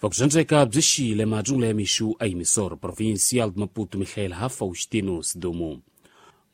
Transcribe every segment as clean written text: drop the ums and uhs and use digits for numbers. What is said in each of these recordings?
Vakuxandzeka byi xile majungula ya mixu a Emissora Provincial de Maputo Mihail Faustino Sidumo.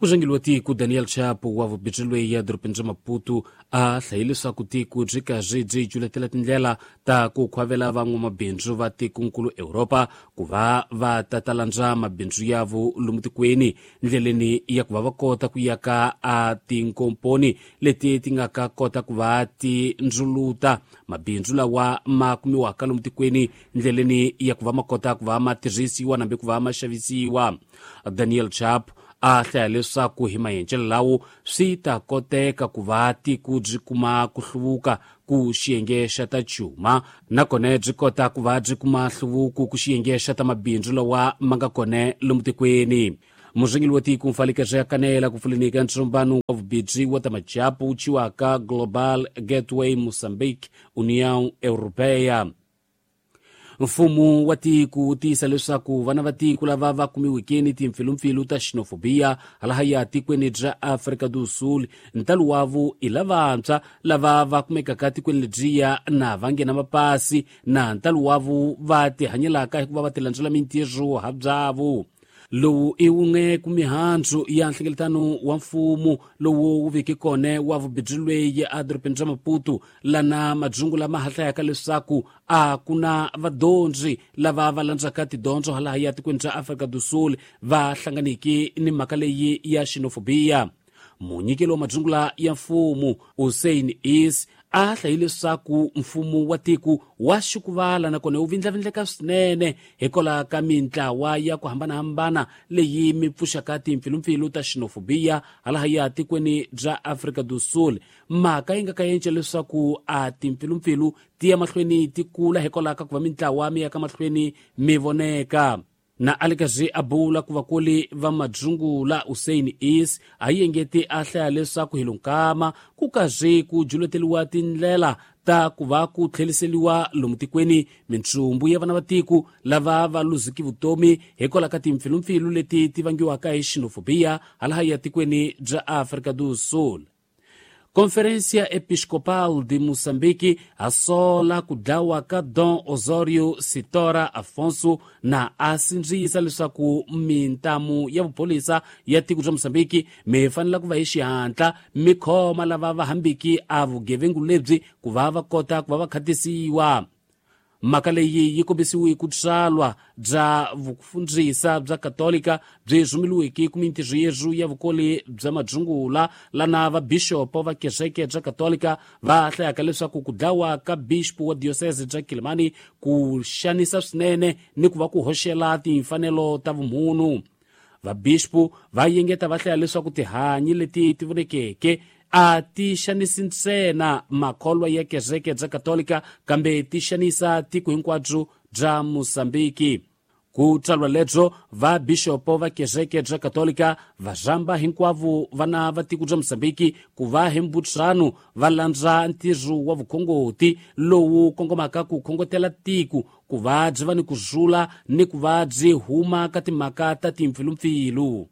Murhangeri wa tiko Daniel Chapo wa vubindzu ya dorobeni ra Maputo a hlaye leswaku tiko byi karhi byi culetela tindlela ta ku khwavela van'wamabindzu va tikonkulu Europa ku va va ta landza mabindzu yavo lomu tikweni ndleleni ya ku va va kota ku yaka a tinkomponi leti ti nga ka kota ku va ti ndzuluta mabindzu lawa ma kumiwaka lomu tikweni ndleleni ya ku va ma kota ku va ma tirhisiwa nambe ku va ma xavisiwa. Daniel Chapo a hlaya leswaku hi maendlelo lawo swi ta koteka ku va tiko byi kuma ku hluvuka ku xiyenge xa ta cuma nakona byi kota ku va byi kuma hluvuko ku xiyenge xa ta mabindzu lawa ma nga kona lomu tikweni. Murhangeri wa tiko Mfalikazi ya kanela ku pfuleni ka ntsombano wa vubindzu wa ta majapu wu thyiwaka Global Gateway Mozambique União Europeia. Mfumo wa tiko wu tiyisa leswaku vana va tiko lava va kumiweke ni timpfilumpfilu ta xenofobia halahaya tikweni bya Afrika do Sul ntalo wavo i lavantshwa lava va kumekaka tikweni lebyiya na va nghena mapasi na ntalo wavo va tihanyelaka hikuva va tilandzela mintirho ha byavo. Lowu i wun'we ku mihandzu ya nhlengeletano wa mfumo lowu wu veke kona wa vubindzu lweyi edorobeni ra Maputo lana madzungu lama hahlayaka leswaku a ku na vadyondzi lava va landzaka tidyondzo halahaya tikweni ra Afrika do Sul va hlanganiki ni mhaka leyi ya xenofobia. Munyikeli wa madzungula ya mfumo Hussein Is a hlayi leswaku mfumo wa tiko wa xikuvala nakona wu vindlavindleka swinene hikwalaho ka mintlawa ya ku hambanahambana leyi mi pfuxaka timpfilumpfilu ta xenofobia halahaya tikweni bya Afrika do Sul. Mhaka yi nga ka yenca leswaku a timpfilumpfilu ti ya mahlweni ti kula hikwalaho ka ku va mintlawa mi ya ka mahlweni mi voneka. Na a le karhi a bula ku vakoli va madzungula Hussein Is a yengeti a hlaya leswaku hi lonkama ku karhi ku juleteliwa tindlela ta ku va ku tlheliseliwa lomu tikweni mintsumbu ya vana va tiko lava va luziki vutomi hikwalaho ka timpfilumpfilu leti ti vangiwaka hi xenofobia halahaya tikweni bya Afrika do Sul. Conferência Episcopal de Moçambique assola ku dlawa ka Dom Osório Sitora Afonso na a sindzisa leswaku mintamu ya vupholisa ya tiko bya Moçambique mi fanela ku va hi xihatla mi khoma lava va hambiki a vugevengu lebyi ku va va kota ku va va khatisiwa. Mhaka leyi yi kombisiwe ku tswalwa bya vufundzisa bya Katolika byi rhumeliweke ku mintirho yezu ya vukoli bya madzungula lana vabixopo va kereke bya Katolika va hlayaka leswaku ku dlawa ka bixopo wa diocese bya Kilimani ku xanisa swinene ni ku va ku hoxela timfanelo ta vumunhu. Vabixopo va yengeta va hlaya leswaku tihanyi leti ti vonekeke a ti xanisi ntsena makholwa ya kereke bya Katolika kambe ti xanisa tiko hinkwabyo bya Mozambiki. Ku tswalwa lebyo vabixopo va kereke bya Katolika va rhamba hinkwavo vana va tiko bya Mozambiki ku va hi mbutsano va landza ntirho wa vukhongoti lowu kongomaka ku khongotela tiko ku va byi va ni ku rhula ni ku va byi huma ka timhaka ta timpfilumpfilu.